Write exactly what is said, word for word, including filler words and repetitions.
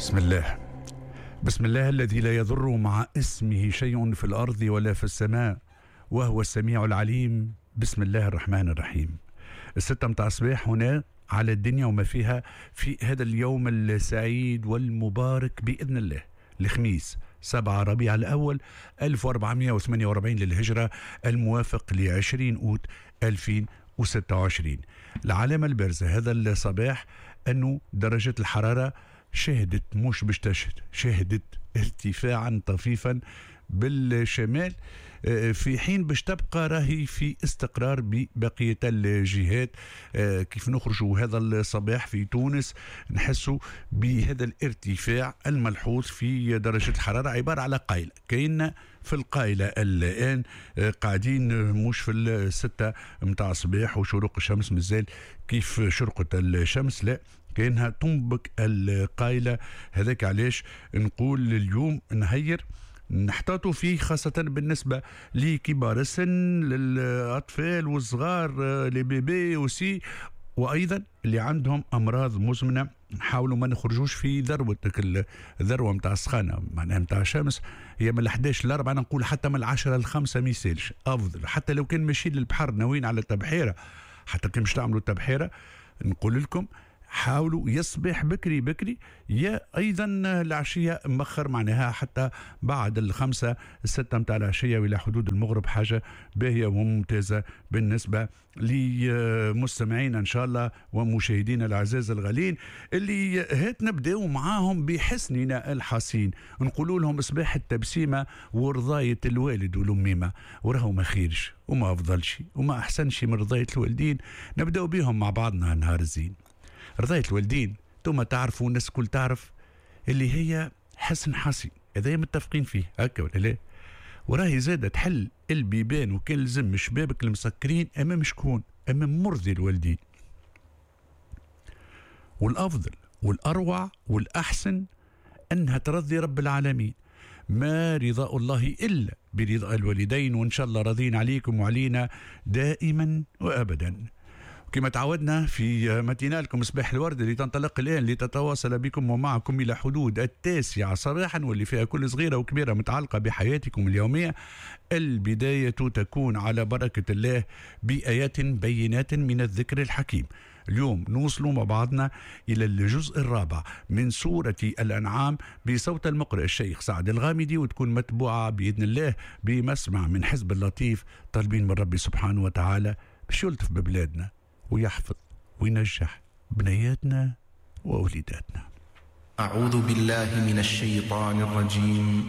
بسم الله، بسم الله الذي لا يضر مع اسمه شيء في الأرض ولا في السماء وهو السميع العليم. بسم الله الرحمن الرحيم. الستة متاع الصباح هنا على الدنيا وما فيها في هذا اليوم السعيد والمبارك بإذن الله، الخميس سبعة ربيع الأول ألف وأربعمائة وثمانية وأربعين للهجرة، الموافق لعشرين أوت ألفين وستة وعشرين. العلامة البارزة هذا الصباح أنه درجة الحرارة شهدت، مش باش تشهد، شهدت ارتفاعا طفيفا بالشمال، في حين باش تبقى راهي في استقرار ببقية الجهات. كيف نخرجوا هذا الصباح في تونس نحسوا بهذا الارتفاع الملحوظ في درجة الحرارة، عبارة على قايلة، كاين في القايلة الآن قاعدين مش في الستة متاع الصباح وشروق الشمس مازال كيف شرقت الشمس، لا كأنها تنبك القايلة. هذاك علاش نقول اليوم نهير نحتاطوا فيه، خاصة بالنسبة لكبار السن، للأطفال والصغار، les bébés aussi، وأيضا اللي عندهم أمراض مزمنة. نحاولوا ما نخرجوش في ذروة، الذروة متاع السخانة معناها متاع الشمس، هي من الحداش للأربعة، أنا نقول حتى من العشرة للخمسة ما يسالش أفضل. حتى لو كان ماشيين للبحر ناويين على التبحيرة، حتى كان مش تعملوا التبحيرة، نقول لكم حاولوا يصبح بكري بكري، يا ايضا العشية مخر، معناها حتى بعد الخمسة الستة متاع العشية والى حدود المغرب، حاجة باهيه وممتازة بالنسبة لمستمعينا ان شاء الله ومشاهدينا الاعزاز الغالين اللي هات نبداو معاهم بحسننا الحصين، نقولوا لهم صباح التبسيمه ورضايه الوالد والاميمه، وراهو ما خيرش وما افضلش وما احسنش من رضايه الوالدين. نبداو بهم مع بعضنا نهار الزين. رضاية الوالدين ثم تعرفوا الناس الكل تعرف اللي هي حسن حصين، هذا متفقين فيه هكا ولا لا؟ وراهي زادة تحل البيبان وكان لزم شبابك المسكرين امام شكون؟ امام مرضي الوالدين. والافضل والاروع والاحسن انها ترضي رب العالمين. ما رضاء الله الا برضاء الوالدين، وان شاء الله راضين عليكم وعلينا دائما وابدا. كما تعودنا في ماتينالكم صباح الورد اللي تنطلق الآن لتتواصل بكم ومعكم إلى حدود التاسعة صباحا، واللي فيها كل صغيرة وكبيرة متعلقة بحياتكم اليومية. البداية تكون على بركة الله بآيات بينات من الذكر الحكيم. اليوم نوصل مع بعضنا إلى الجزء الرابع من سورة الأنعام بصوت المقرئ الشيخ سعد الغامدي، وتكون متبوعة بإذن الله بمسمع من حزب اللطيف، طالبين من ربي سبحانه وتعالى باش يلطف ببلادنا ويحفظ وينجح بنياتنا وأوليداتنا. أعوذ بالله من الشيطان الرجيم.